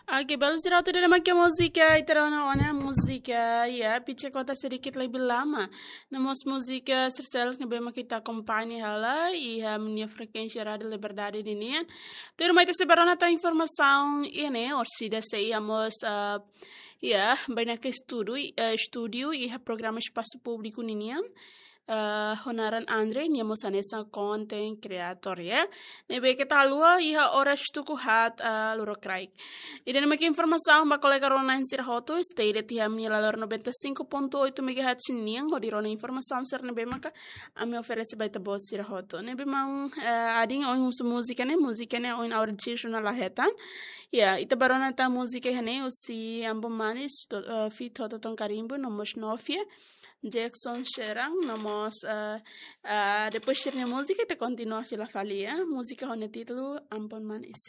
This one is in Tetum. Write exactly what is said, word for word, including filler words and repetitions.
Oke, belun sira hotu, ida-ne'e mak múzika ita rona ona, múzika, ya, Picha Kota Sedikit Lebih Lama. No mós múzika sira seluk ne'ebé mak ita akompaña hela iha nia frekuénsia Rádiu Liberdade ninian. Tuirmai ita sei bá rona tan informasaun iha ne'e, orsida sei iha mós, ah, ya, bainaka estudu, eh, estúdiu iha programa Espasu Públiku ninian. Eh, ho naran Andre, nia mós hanesan content creator, ya. Ne'ebé keta haluha iha oras tuku haat, eh, lorokraik. Ida-ne'e mak informasaun ba kolega rona-na'in sira hotu, stay de'it iha ami-nia lalor noventa e cinco ponto oito megahertz nian, hodi rona informasaun sira ne'ebé maka ami oferese ba ita-boot sira hotu. Ne'ebé maun, eh, Adin, ohin husu múzika ne'e, múzika ne'e ohin ha'u rejista ona la hetan. Ya, ita bá rona tan múzika iha ne'e husi Ambon Manis, to-, eh, feat Toton Karimbo, no mós Novia, Jackson Xeran, no mós, eh, eh, depois sira-nia múzika ita kontinua fila fali, ya. Múzika ho nia títulu Ambon Manis.